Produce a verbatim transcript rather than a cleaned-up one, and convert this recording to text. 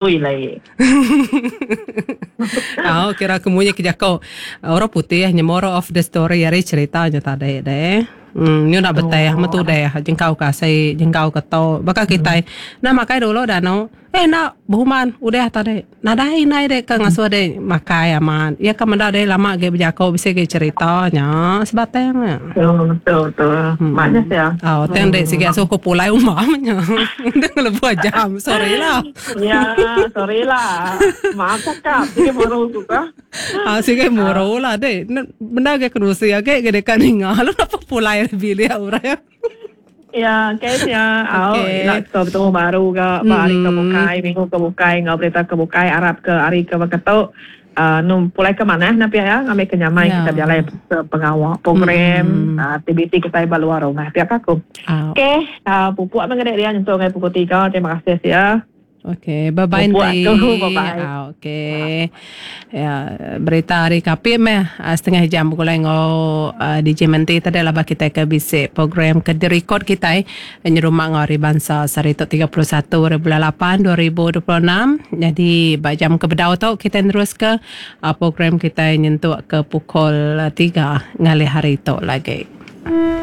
Ili. Au kira ke munyi ke jako orang putih nya moral of the story ari cerita nya tadi deh. Hmm nyu enda beteh metu deh jengkau ke asi jengkau ke tu baka kitai enda makai dulu danu eh enda behuman udah tadi nadai indai dek ke ngasuh dek makai amat iya ke meda dek lama agi bejako bisi agi cerita nya sebatang nya. Betul betul betul. Hmm. Mak nya sia. Au tang dek sigi asuh ku pulai umam nya. Enda ngelebuh jam sorry lah. Ya sorry lah. Maaf cakap sigi muru ku ka. Ah sigi muru lah dek. Bendar agi kerusi agi ga deka ninga lalu napa pulai ari bilik orang. Ya okay sia. Au Okay. ila ke betemu baru ga ba hari ke Mm. bukai minggu ke bukai enggau berita ke bukai arap ke hari ke baka tu uhh num pulai ke manah ne pia iya ngambi ke nyamai Ya. kita bejalai ke pengawa program Mm. uhh aktiviti kitai ba luar rumah pia ka ku. Au. Okay uhh pupuk meh ngedi dia nyentuk ngagai pukul tiga terima kasih sia. Okey, bye bye Pupuk enti. aku bye bye. Au okey. Ya berita ari Kapit meh setengah jam begulai enggau D J Menti tadi laban kitai ke bisi program ke direkod kitai nyerumba enggau Hari Bansa sehari tu tiga puluh satu hari bulan lapan dua ribu dua puluh enam. Nyadi ba jam ke bedau tu kitai neruska program kitai nyentuk ke pukul tiga ngalih hari tu lagi.